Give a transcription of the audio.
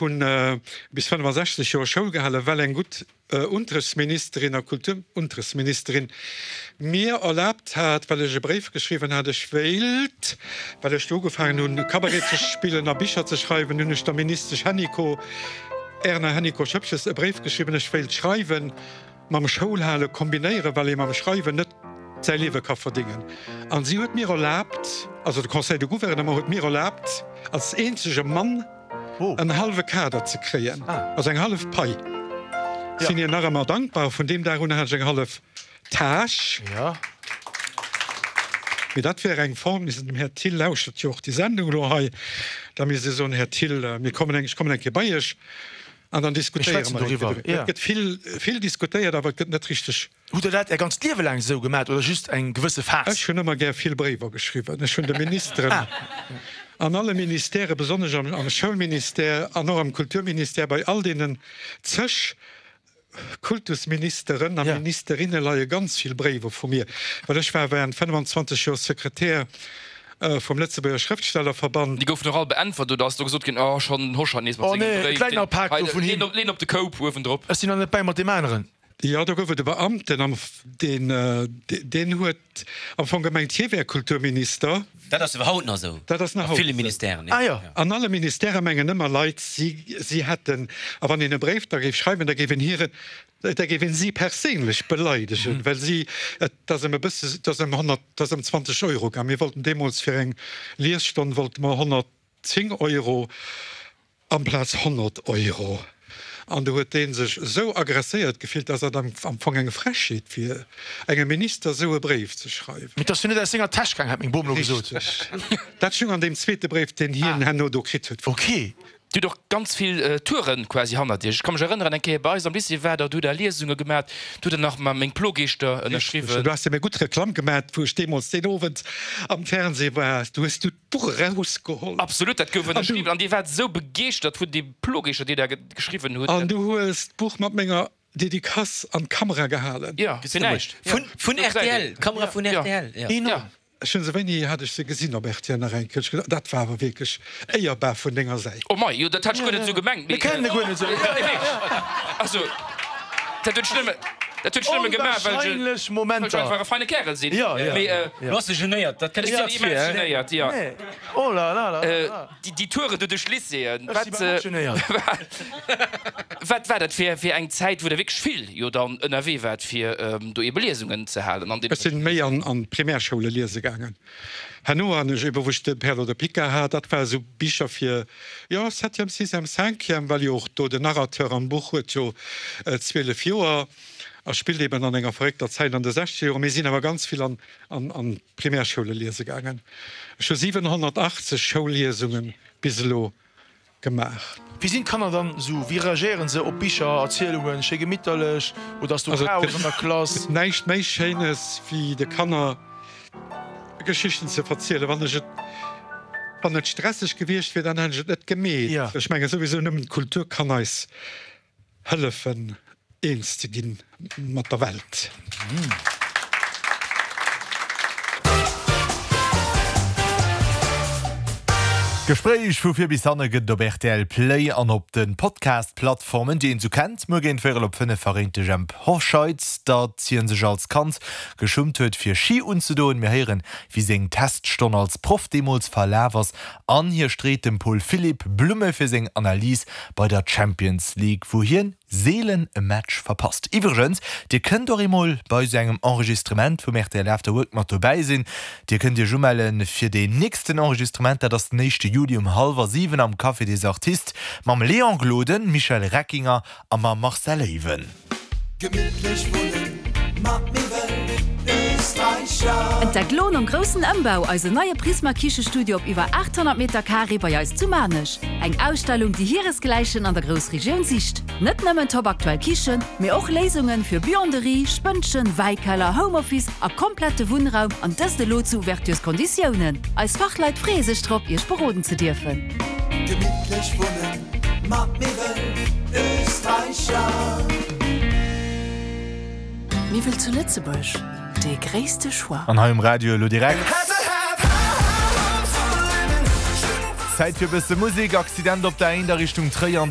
Hunn bis 65 Joer Schoul gehalen, well eng gutt Unterrichtsministerin a Kulturunterrichtsministerin mir erlaabt hat, well ech e Bréif geschriwwen hat, ech wéilt, well ech do ugefaangen hunn, Cabaret ze spillen a Bicher ze schreiwen, hunn ech der Ministesch Hennicot, Erna Hennicot-Schoepges, e Bréif geschriwwen, ech wéilt schreiwen, mam Schoulhale kombinéieren, well ee mam Schreiwen net säi Liewe ka verdéngen. An si huet mir erlaabt, also de Conseil de Gouvernement huet mir erlaabt, als eenzege Mann, en hallwe Kader ze kréien, also eng hallef Pai. Sinn hir nach ëmmer dankbar. Vun deem Dag un hat ech eng hallef Tâche. Mee dat wär eng Form, misst dem Här Thill, lauschtert jo och déi Sendung elo hei, da misst ee soen, Här Thill, mir kommen eng, ech kommen eng Kéier bei Iech an dann diskutéiere mer eng Kéier doriwwer. Et gëtt vill, vill diskutéiert, awer et gëtt net richteg. Hutt Der dat Är ganzt Liewe laang esou gemat oder just eng gewësse Phas? Ech hunn ëmmer gär vill Bréiwer geschriwwen. Ech hunn de Ministeren an alle Ministèrë, besonnesch am Schoulministère an och am Kulturministère, bei all deenen zeg Kultusministeren a Ministerinne leie ganz vill Bréiwer vu mir, well ech war während 25 Joer Sekretär vum Lëtzebuerger Schrëftstellerverband. Déi goufen och all beäntwert oder ass do gesot ginn, oh schonn den Hoscheit nees mat sengem Bréif, deen leen op de Koup uewendrop. Ech sinn nach net bäi mat deem aneren. Jo, do gouf et e Beamten, am deen, deen huet am Fong gemengt, hie wär Kulturminister. Dat ass awer haut nach esou. Dat ass nach haut esou. A ville Ministèren, jo. Ah jo. An alle Ministèrë mengen ëmmer Leit, si, si hätten, a wann een e Bréif da géif schreiwen, da géif een hiren, da géif een si perséinlech beleidegen, well si, et ass ëm e bësse, et ass ëm 100, et ass ëm 20 Euro gaang. Mir wollten deemools fir eng Liesstonn wollte mer 110 Euro. Amplaz 100 Euro. An do huet dee sech esou agresséiert gefillt, dass dat am Fong eng Frechheet wier, engem Minister esou e Bréif ze schreiwen. Mee 't ass jo net aus senger Täsch gaang, hat meng Bom elo gesot. Richteg. Dat stung an deem zweete Bréif, deen hien herno do kritt huet. Ok. Dir hutt och ganz vill Touren quasi hannert Iech. Ech ka mech erënneren, eng Kéier bei eis am Lycée waart Der, do hutt Der Liesunge gemat, do hutt Der nach Meng Plogeeschter ënnerschriwwen. Richteg. Du has jo mir gutt Reklamm gemat, wou ech deemools deen Owend am Fernseh war. Du hues du d'Buch erausgeholl. Absolut, dat gouf ënnerschriwwen an Dir waart esou begeeschtert vun deem Plogeeschter, deen Der geschriwwen hutt. An du hues d'Buch mat menger Dedicace an d'Kamera gehalen. Jo, fir näischt. Vun rtl, d'Kamera vun rtl, jo. Enorm. Ech hunn se, wéini hat ech se gesinn op rtl nach eng Kéier? Dat war awer wierklech éierbar vun denger Säit. Oh mei, jo, dat hat ech guer net esou gemengt, mee. Mir kennen e guer net esou. Also, dat huet ech nëmme, dat huet ech nëmme gemaach, well ech, Onwahrscheinlech Momenter. well ech einfach e feine Kärel sinn. Jo, jo. Mee, Du bass e genéiert, dat kënnt ech dir sinn vir, immens hein? genéiert, jo. Nee. Oh la la la la. Déi Touren do duerch d'Lycéeën, Ech si wat, bal och genéiert. wat war dat fir, fir eng Zäit, wou Der wierklech vill jo dann ënnerwee waart, fir do ebe Liesungen ze halen an deene Ech sinn méi an an d'Primärschoule liese gaangen. Herno han ech ebe wou ech de Perlo de Pica hat, dat war esou Bicher fir, jo, septième, sixième, cinquième, well jo och do den Narrateur am Buch huet jo 12 Joer a spillt eben an enger verréckter Zäit an de sechzeger Joren. Mir sinn awer ganz vill an an d'Primärschoule liese gaangen. Ech hu 780 Schoulliesunge bis elo gemaach. Wéi sinn d'Kanner dann esou? Wéi reagéieren se op Bicher, Erzielungen? Schéi gemitterlech oder ass do Chaos an der Klass? Also et gëtt näischt méi Schéines wéi de Kanner Geschichten ze verzielen. Wann ech et, wann et stresseg gewiescht wier, dann hätt ech et net gemeet. Ech menge souwisou nëmmen d'Kultur kann eis hëllefen eens ze ginn mat der Welt. D'Gespréich vu vir bis hanne gëtt et op rtl Play an op de Podcast-Plattformen, déi een esou kennt. Muer géint véierel op 5 verréint de Jemp Hoscheit, datt hie sech als Kand geschummt huet fir Ski unzedoen. Mir héieren, wéi seng Teststonn als Proff deemools verlaf ass an hie street dem Paul Philipp Blumme fir seng Analys bei der Champions League, wou hien seelen e Match verpasst. Iwwregens, dir kënnt och eemol bei esou engem Enregistrement vum rtl After Work mat dobäi sinn. Dir kënnt iech umelle fir deen nächsten Enregistrement, dat ass den éischte Juli um hallwer 7 am Café des Artistes mam Léon Gloden, Michel Reckinger a mam Marcel Ewen. Gemittlech wunnen mat Miwwel Österreicher. Entdeckt lo nom groussen Ëmbau eisen neie Prisma Kichestudio op iwwer 800 Meter Carré bei eis zu Maarnech. Eng Ausstellung déi hiresgläichen an der Groussregioun sicht. Net nëmmen top aktuell Kichen, mee och Léisungen fir Buanderie, Spënnchen, Wäikeller, Homeoffice a komplette Wunnraum an dëst elo zu Ouvertures-Konditiounen. Eis Fachleit freeë sech drop iech beroden ze dierfen. Gemittlech wunnen mat Miwwel Österreicher. Miwwel zu Lëtzebuerg, dee gréisste Choix. An hei um Radio elo direkt Zäit fir e bësse Musek. Accident op der 1 a Richtung Tréier an der.